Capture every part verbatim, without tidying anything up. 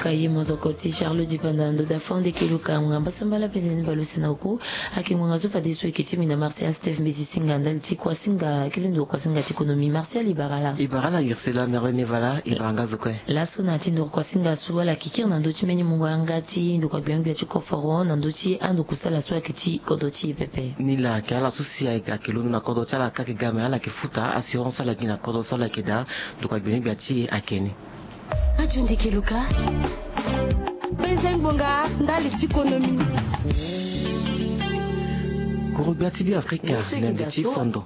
Aye mozoko ti Charlot Dipanda ndo da fond eke luka ngonga mbasambala mpe zeni balo sena oku. Ake ngonga so fadeso eke ti mina Martial Steve mbeti singa ndali ti kua singa kete ndo kua singa ti konomi. Martial, ibarala. Ibarala Ursula, merwe nevala ibaranga zokwe. Laso na ti ndo kua singa so ala kikiri na ndo ti mbeni mungo anga ti ndo kua gbia gbia ti koforo na ndo ti ando kusala so ake ti kodro ti e pepe. Ni la ake ala so si ake londo na kodro ti ala kake ga me ala ke futa assurance ala gi na kodro so ala ke daa. Ndo kua gbia gbia ti e ake ni. Radio Ndeke Luka. Benze ngbonga ndali ti konomi. Korogbia ti Beafrika na nde ti fondo.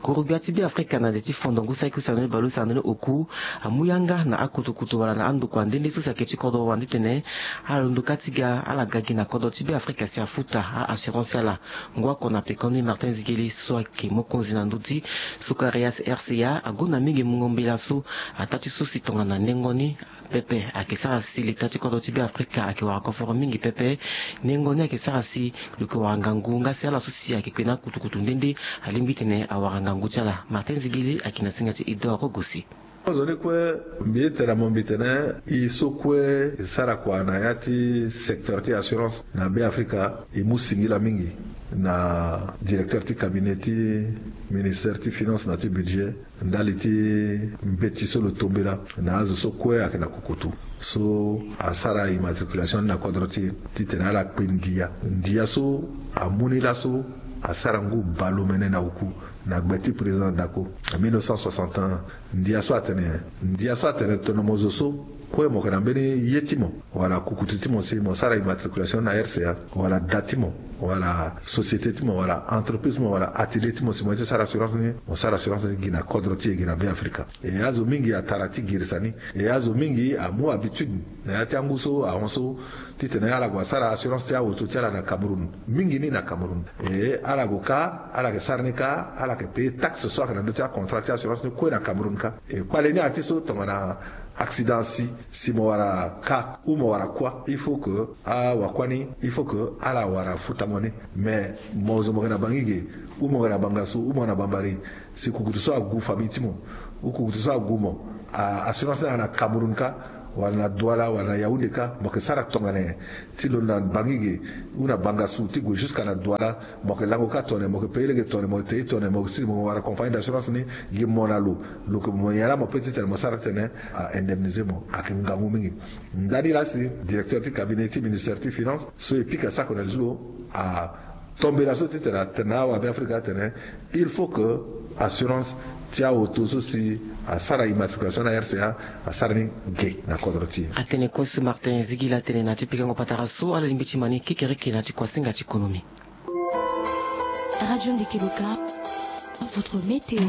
Korogbia ti Beafrika na nde ti fondo ngu saki usana ni balo usana ni oku. Amu yanga na akutukutu wala na andokua nde nde so si ake ti kodro wande tene ala londo ka ti ga ala ga gi na kodro ti Beafrika si afuta a assurance ala. Ngu akona pekoni Martin Zigeli so ake mokonzi na ndö ti sukarias R C A agonda mingi mungo mbela so. Ataa ti so si tongana nengo ni pepe ake sara si leta ti kodro ti Beafrika ake wara koforo mingi pepe. Nengo ni ake sara si lo ke wara ngangu nga si ala so si ake kpe na kutukutu nde nde alingbi tene awara ngangu ti ala. Martin Zigili ake na singa ti Idor Rogosi. Kozoni kue mbi tene mo mbi tene e so kue e sara kua na ya ti secteur ti assurance na Beafrika e mu singila mingi na directeur ti cabinet ti ministère ti finance na ti budget ndali ti mbeti so lo tombela na azo so kue ayeke na kukutu so asara immatriculation ni na kodro ti e titene ala kpe ndia. Ndia so amu ni laso asara ngu baleomene na oku na gbe ti président Dacko na mille neuf cent soixante et un. Ndia so atene ndia so atene tongana mo zo so kue mo yeke na mbeni ye ti mo wala kukutu ti mo si mo sara immatriculation na R C A wala da ti mo wala société ti mo wala entreprise ti mo wala atelier ti mo si mo ye ti sara assurance ni, mo sara assurance ni gi na kodro ti e gi na Beafrika. E azo mingi atara ti girisa ni. E azo mingi amu habitude na ya ti angu so ahon so titene ala gue asara assurance ti aoto ti ala na Cameroun. Mingi ni na Cameroun e ala gue kâ ala yeke sara ni kâ ala yeke paye taxe so ayeke na ndö ti acontrat ti assurance ni kue na Cameroun kâ. E kpale ni ati so tongana accident si si mo wara kâ ou mo wara kuâ il faut que awakua ni il faut que ala wara futa mo ni. Mais mo zo mo yeke na Bangui ge ou mo yeke na Bangassou ou mo yeke na Bambari si kukutu so agu famille ti mo ou kukutu so agu mo, assurance ni ayeke na Cameroun kâ wala na Douala wala na Yaoundé kâ mo yeke sara tongana nyen? Ti lo na Bangui ge ou na Bangassou ti gue jusqu'à na Douala mo yeke lango kâ tongana nyen? Mo yeke paye lege tongana nyen? Mo yeke te tongana nyen? Mo yeke si mo wara compagnie d'assurance ni gi mo na lo. Lo yeke mo nyen laa mo peut titene mo sara titene a indemniser mo. Ayeke ngangu mingi. Ndani laa si directeur ti cabinet ti ministère ti finance so e pika sako na li ti lo atombela so titene atene na awabe afrika atene il faut que assurance ti aoto so si asara immatriculation na R C A asara ni ge na kodro ti e. Atene kue so Martin Zigila atene na ti pikango patara so ala lingbi ti ma ni kekereke na ti kuasinga ti konomi. Radio Ndeke Luka, votre météo.